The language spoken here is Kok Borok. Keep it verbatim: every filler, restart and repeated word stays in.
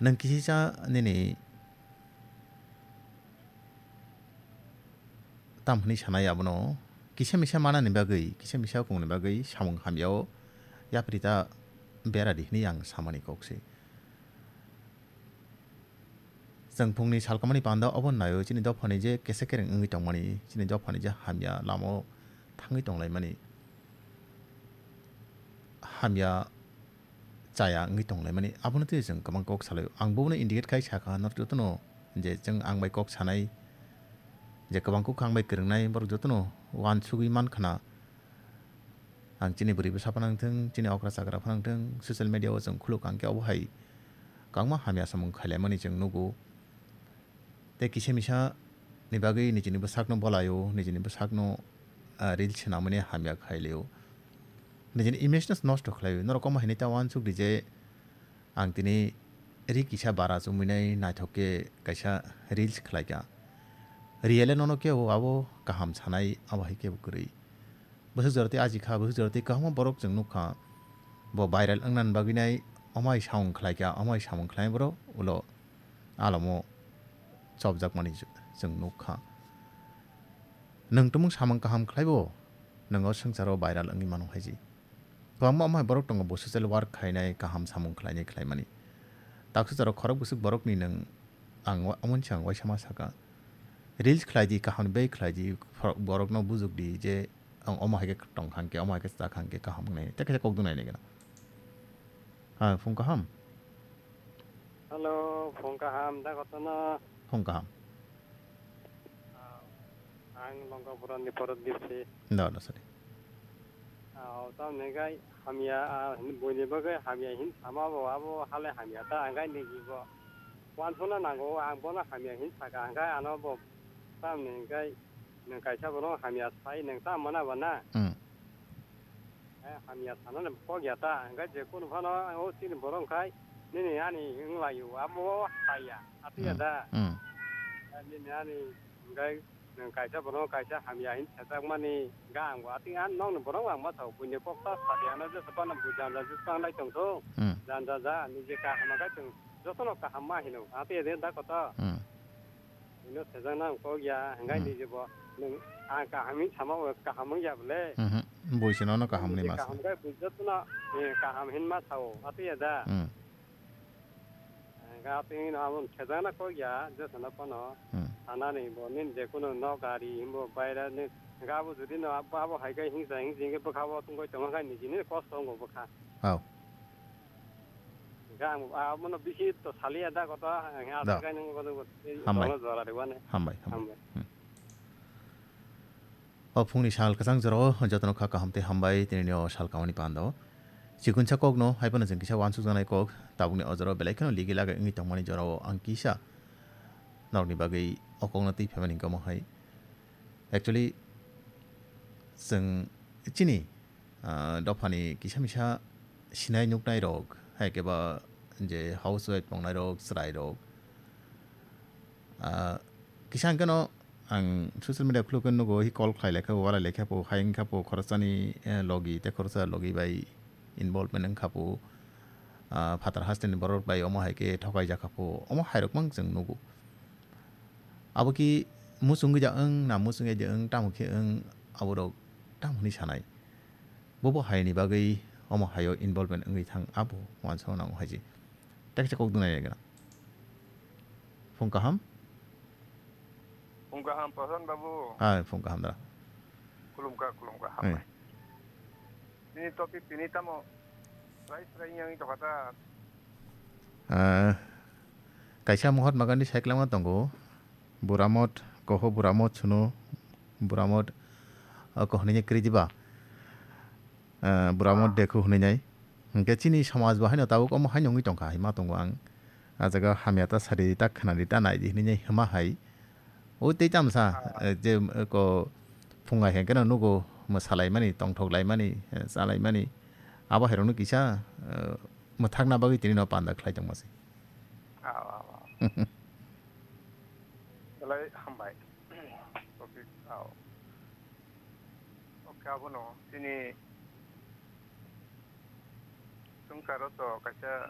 Nwng kisisa nini tam hwnwi sanai abono kisa misa manani bagwi, kisa misa okongni bagwi samung hamyao yapri ta beradi hwnwi ang samani kok se. Chwng phungni salkamani panda obo naio chini dophani je kesa kereng wngwi tongmani, chini dophani je hamya lamao thangwi tonglaimani, hamya chaya wngwi tonglaimani, abono twi chwng kwbang kok salaio. Ang bobono indicate khai sakha, norok jotono je chwng ang bai kok sanai, je kwbang kok ang bai kwrwngnai, borok jotono uansugwi mankhna. Ang chini bwrwi bwsa phano wngthung, chini okra chakra phano wngthung, social media o chwng khuluk ang khe obo hai kwbangma hamya samung khailaimani chwng nugo. Tei kisa misa ni bagwi nijini bwsakno bolaio, nijini bwsakno, ah, reels swnamani hamya khailio. Nijini image no nosto khlaio. Norok omo hinwi ta uansuk di je ang tini ri kisa bara chumui nai naithok khe kaisa reels khlaikha. Real-e nono kebo abo kaham sanai, abo hai kebo kwrwi. Bwswk jora tei aji kha, bwswk jora tei kwbangma borok chwng nukha. Bo viral wngna bagwi nai omai samung khlaikha, omai samung khlai borok ulo alamo chopjakmani chwng nukha. Nwng tumung samung kaham khlaibo, nwng o swngcharo viral wngwi mano haiji. Kwbangma omai borok tongo bo social work khainai, kaham samung khlainai khlaimani. Taksa charo khorok bwswk borokni nwng ang wa-, omo wngsa ang waisa ma sakha. Reels khlai di, kaham bai khlai di, borokno bujuk di je ang omo hai khe tong kha hwn khe, omo hai khe cha kha hwn khe kaham wngnai. Tei kaisa kok dwnai nai gana. Ha, phung kaham? Hello, phung kaham, da kotono? Phung kaham. Ah, ang Longkapura ni Prodip si. Da, da, sorry. Ah, tamni gai hamya, ah, buini bagwi hamya hin sama bo, abo hale hamya ta, ang gai ni jibo. Wansukna nango, ang bono hamya hin saka, ang gai ano bo tamni gai nwng kaisa bono hamya sai, nwng ta mana ba na? Hmm. Eh, hamya sanani kok ya ta, hingke je kunu phano o chini borok wngkhai nini ani wnglaio, abo saya, atiya da. Hmm. Eh, nini ani hingke nwng kaisa borok kaisa hamya hin sajak mani ga ang bo, ati ang nokni borok ang ma sao, buini kok ta sadi ano jesa phano bo janja jesa wng lai tong thung, Hmm. janja ja, niji kaham khe chwng jotono kaham ma hino, atiya de da koto. Hmm. Ino sejak nang kok ya, hingkai Hmm. ni jebo, nung ang kaham hin sama o kaham wng ya bole. Mhm. Bui se nono kaham Nung ni je ma kaham sa. Kai bui jotono, eh, kaham hin ma sao, ati ya da. Hmm. Hingkai ati no amo sejak na kok ya, je sana kono. Hmm. Sana ni bo nin je kono no gari himbo baira ni, hingkai abo jodi no abo, abo hai kai hingsa hingsi hingke bwkha bo tungkoi tongo kai ni jini kosto wngo bwkha. Hao. Hingke ang, ah, abono bisi to saliya da koto, ang Aswk Da. Khe nung koto, koto, Hambai. Kono jora rwani. Hambai, hambai. Hambai. Hmm. O phungni sal kwchang jorao jotono kha kaham tei hambai, tini o sal kamani pando. Chikunsa kokno, hai phano chwng kisa wansuk janai kok, tabukni o jorao belai kheno ligi lagai wngwi tongmani jorao ang kisa norokni bagwi o kokno twi phaimani hingke omo hai. Actually, chwng chini ah, dophani kisa misa sinai nuknai rok, hai khe ba je housewife tongnai rok, chwrai rok. Ah, kisa hwnkhe no ang social media khuluk khe nugo, hi call khlai lai kha bo, walai lai kha bo, hai wng kha bo khoroksani, eh, logi tei khoroksa logi bai involvement wng kha bo, ah, phatar hasteni borok bai omo hai khe thokai jak kha bo, omo hai rok mang chwng nugo. Abo ki muchungwi da wng na muchungya da wng, tamo khe wng, aborok tamo hwnwi sanai. Bobo haini bagwi omo haio involvement wngwi thang, abo uansukna nango hai se. Tei kaisa kok dwnai gana. Phung kaham? Phung kaham, Prasan babu. Hai, phung kaham da. Khulumkha, khulumkha, Hai. Hambai. Nini topic tini tamo srai srai wngwi tongkha ta. Ah, kaisa Mahatma Gandhi saikwlangma tongo. Buramot, koho buramot suno, buramot, ah, kohnini kridiba. Ah, buramot Ah. Dekhu hwnwi nai. Hwnkhe chini samaj bo haino tabuk omo haino wngwi tongkha, hai ma tongo ang. Ah jaga hamya ta sadi, ta khwnadi, ta naidi hwnwi nai hwma hai. O tei tamsa, Ah. Eh, je, eh, ko phunga hwnkhe no nugo, mwsalaimani, tongthoklaimani, eh, chalaimani. Abo hairokno kisa, eh, mwthakna bagwi tini no panda khlai tongma se. Ah, ah, ah. Belai hambai. Topic, ah. Oke, abono chini swngcharo to kaisa